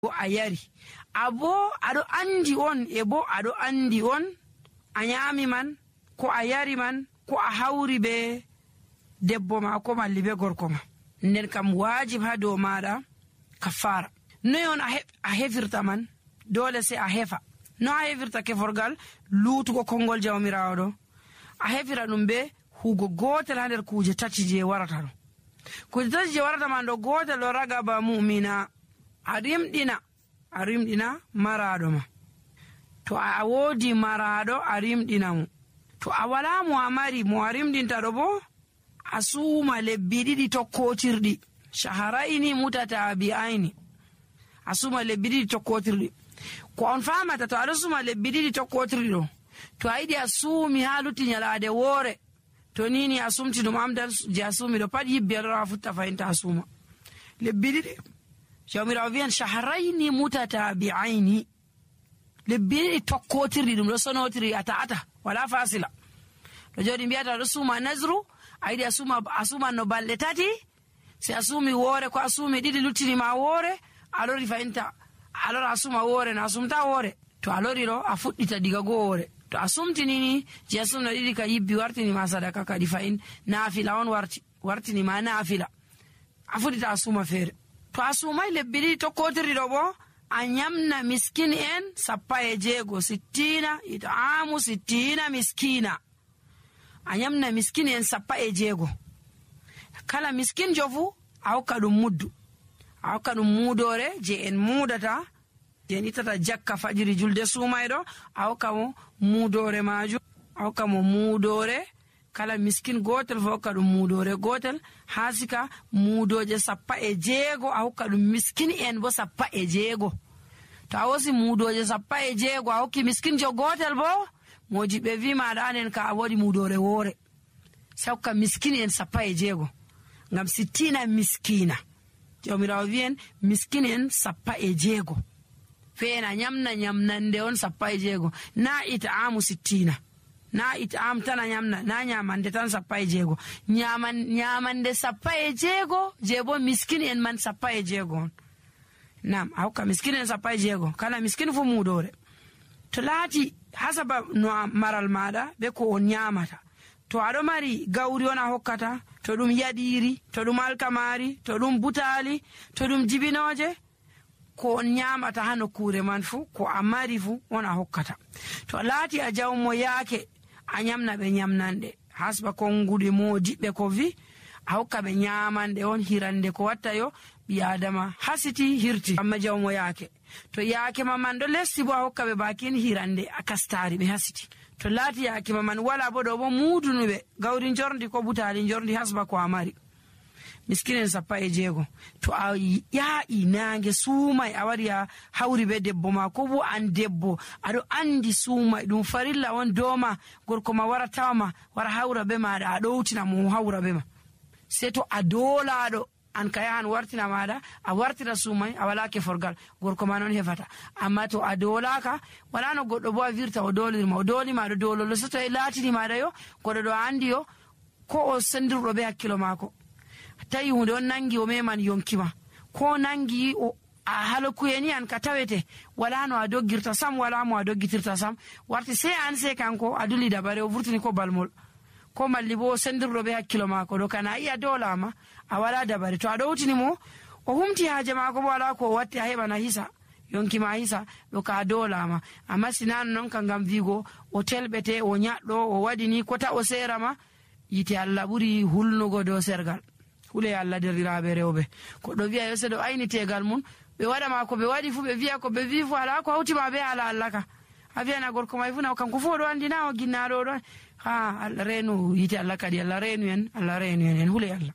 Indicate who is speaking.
Speaker 1: bo a yari abo aɗo andi on e bo aɗo andi on a nyami man ko a yari man ko a hawri be debbo ma ko malli be gorko ma nden kam wajib ha dow maɗa kafara. noy on a hefirta man? dole sai a hefa. no a hefirta keforgal? lutugo kongol jawmirawo ɗo a hefira ɗum be hugo gotel ha nder kuje tati je warata ɗo. kuje tati je warata man ɗo gotel ɗo ragaba mu'mina a rimɗina maraɗo ma. to a wodi maraɗo a rimɗina mo. to a wala mo a mari mo a rimɗinta ɗo bo a suuma lebbi ɗiɗi tokkotirɗi shaharaini mutatabi'aini. a suuma lebbi ɗiɗi tokkotirɗi. ko on famata to aɗo suuma lebbi ɗiɗi tokkotirɗi ɗo to a yiɗi a suumi ha lutti nyalade woore to nini a sumti ɗum amdal je a suumi ɗo pat yibbi aɗo a futta fayinta a suuma lebbi ɗiɗi. jawmirawo wiyan shaharaini mutatabi'aini. lebbi ɗiɗi tokkotirɗi ɗum ɗo sonotiri a ta'ata wala fasila. ɗo jooɗi mbiyata ɗo suuma nasru a yiɗi a suuma no balɗe tati sai a suumi woore ko a suumi ɗiɗi luttinima woore a lori fayinta a lora a suuma woore no a sumta woore. to a lori ɗo a fuɗɗita diga goo woore. to a sumtinini je a sumna ɗiɗi ka yibbi wartinima sadaka kadi fayin naafila on wartinima naafila a fuɗɗita a suuma feere. to a suumai lebbi ɗiɗi tokkotirɗi ɗo bo a nyamna miskin en 16 sittina it'amu sittina miskina. a nyamna miskin en 16. kala miskin jofu a hokka ɗum muddu a hokka ɗum muudore je en muudata je en ittata jakka fajiri julde suumayɗo a hokka mo muudore majum. a hokka mo muudore kala miskin gotel fo hokka ɗum muudore gotel ha sika muudoje 16 a hokka ɗum miskin en bo 16. to a wosi muudoje 16 a hokki miskin jo gotel bo mojiɓe wi maɗa nden ka a waɗi muudore woore sai hokka miskin en 16 ngam 60 miskina. jawmirawo wiyen miskin en 16 feena nyamnande on 16 na it'amu 60 na it'am tan a nyamna na nyamande tan 16 nyamande 16 je bo miskin en man 16 nam a hokka miskin en 16 kala miskin fu muudore. to laati hasaba no maral maɗa be ko on nyamata to aɗo mari gawri on a hokkata to ɗum yaɗiri to ɗum alkamari to ɗum butali to ɗum jibinoje ko on nyamata ha nokkure man fu ko a mari fu on a hokkata. to laati a jawmo yaake a nyamna ɓe nyamnanɗe hasba konguɗe modiɓɓe ko vi a hokka ɓe nyamande on hirande ko watta yo ɓi adama hasiti hirti amma jawmo yaake. to yaake maman ɗo lesti bo a hokka ɓe bakin hirande a kastari ɓe hasiti. to laati yaake maman wala bo ɗo bo muudunuɓe gawri jordi ko butali jordi hasba ko a mari miskinen 16. to a yaa'i nange suumay a wari a hawri be debbo ma ko bo an debbo aɗo andi suumay ɗum farilla on doma gorko ma wara tawama wara hawra be maɗa a ɗowtina mo hawra be ma sei to a dolaɗo an ka yahan wartina maɗa a wartira suumay a wala keforgal gorko ma noon hefata. amma to a dolaka wala no goɗɗo bo a virta o dolirma o dolima ɗo dololo so to e laatini maɗa yo goɗɗo ɗo andi yo ko o sendirɗo be hakkilo mako tawi hunde on nangi o meman yonkima ko nangi a halokuyeni an ka tawete wala no a doggirta sam wala mo a doggitirta sam warti sei an sei kanko a duli dabare o vurtini ko balmol ko malli bo sendirɗo be hakkilo mako ɗo kana iya dolama a wala dabare. to a ɗowtini mo o humti haaje mako bo wala ko o watti a heɓana hisa yonkima hisa ɗo ka dolama. amma sinano noon ka ngam wigo o telɓete o ñaɗɗo o waɗini kota o serama yite Allah ɓuri hulnugo dow sergal. hule Allah derɗiraɓe rewɓe koɗɗo wiya yo seɗo ayni tegal mum ɓe waɗama ko ɓe waɗi fu ɓe wiya ko ɓe wi fu ala ko hawtima be ala Allah ka a wiyana gorko may fu na kanko fu oɗo andina o ginnaɗo ɗon ha Allah reenu yite Allah kadi Allah reenu en hule Allah.